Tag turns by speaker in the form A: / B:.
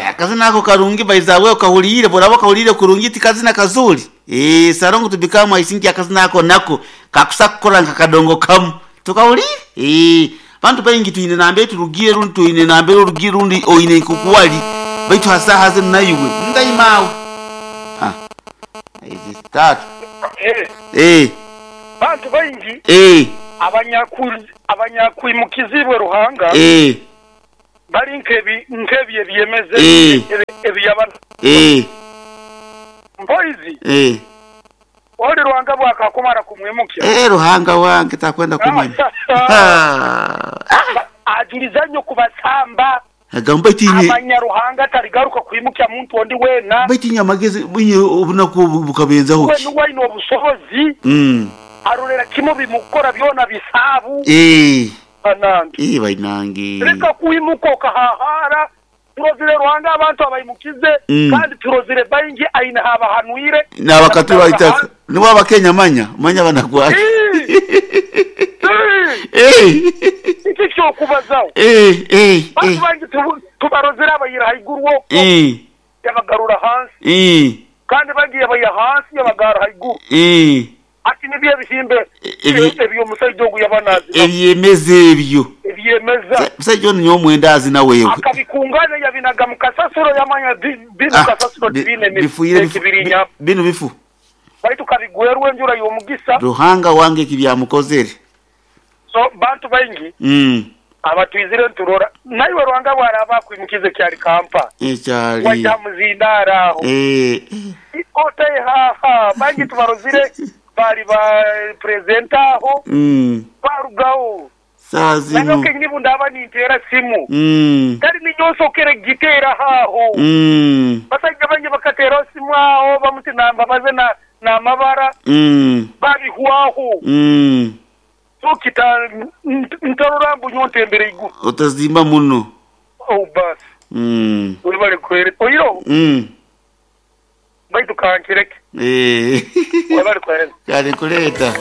A: Akazina ako karungi baizawe okahuliire boraba okahuliire kurungi ti kazina kazuri. Eh, Sarongo tubikamu aisinki akazina ako nako kakusa kukora nka kadongo kamu. Tukahuliire? Eh, bantu baingi twine nambere turugire rundi twine nambere orugire rundi oine nkokuwali baitu hasaha zinu naiwe ndaimawe. Ah. Izi tatu.
B: Eh,
A: Eh,
B: bantu baingi
A: eh,
B: abanyakwimukizibwe Ruhanga
A: eh,
B: bali nkebi nkebi ebyemeze
A: Eh.
B: ebyabana
A: eh,
B: mpoizi
A: eh.
B: oli Ruhanga bwakakumara kumwimukya
A: Eh, Ruhanga wange takwenda kumanya. Ah.
B: ajuliza nnyo kubasamba
A: Agamba tinye
B: amanya Ruhanga taligaruka kwimukya muntu ondi weena
A: baitu inye amagezi inye obunaku obu bukabenzaho
B: we
A: ki?
B: nuwe aine obusobozi
A: Mm.
B: arolera kimu bimukora byona bisaabu
A: Eh,
B: banange
A: eh bainange.
B: leka kwimuka okahahara turozire Ruhanga abantu abaimukize kandi turozire baingi aine habahanwire
A: Nabakatula itaka. Nibo abakenya manya, manya banakwaki. Eh.
B: iki kyokubazaho
A: Eh, eh,
B: bantu
A: eh.
B: bangi tubarozere abayira haiguru okwo
A: Eh,
B: yabagarura hansi
A: eh,
B: kandi bagiye baya hansi yabagarura haiguru
A: eh.
B: ati nibyo ebihimbe ebyomusajja ogu yabanazi
A: Ebyemeze ebyo.
B: ebyemeza
A: Musajja ono nyomwenda azina wewe.
B: akabikunganya yabinaga mu kasasiro yamanya binu
A: Ah,
B: kasasiro tibine
A: bifuire
B: ekibirinya
A: binu bifu.
B: baitu kabigwerwa enjura y'omugisa
A: Ruhanga wange kibyamukozere.
B: So bantu baingi abatwizire nturora naiwe Ruhanga bwaraba akwimukize kyali kampa
A: Ekyali.
B: wajja muzindaara aho
A: Eh.
B: otehaha bangi tubarozire bali ba presenta aho barugaho
A: Saa zino.
B: nanyoke nibu ndaba nintera simu kali ninyonsokere gitera haho basajja bangi bakateraho simu aho bamuti nambabaze na namabara babihwaho so kita ntarora mbu nyontembere iguru
A: Otazimba muno.
B: oh basi webale kwere oiro baitu kankireke
A: Eh.
B: webale kwereza
A: Kale kuleta.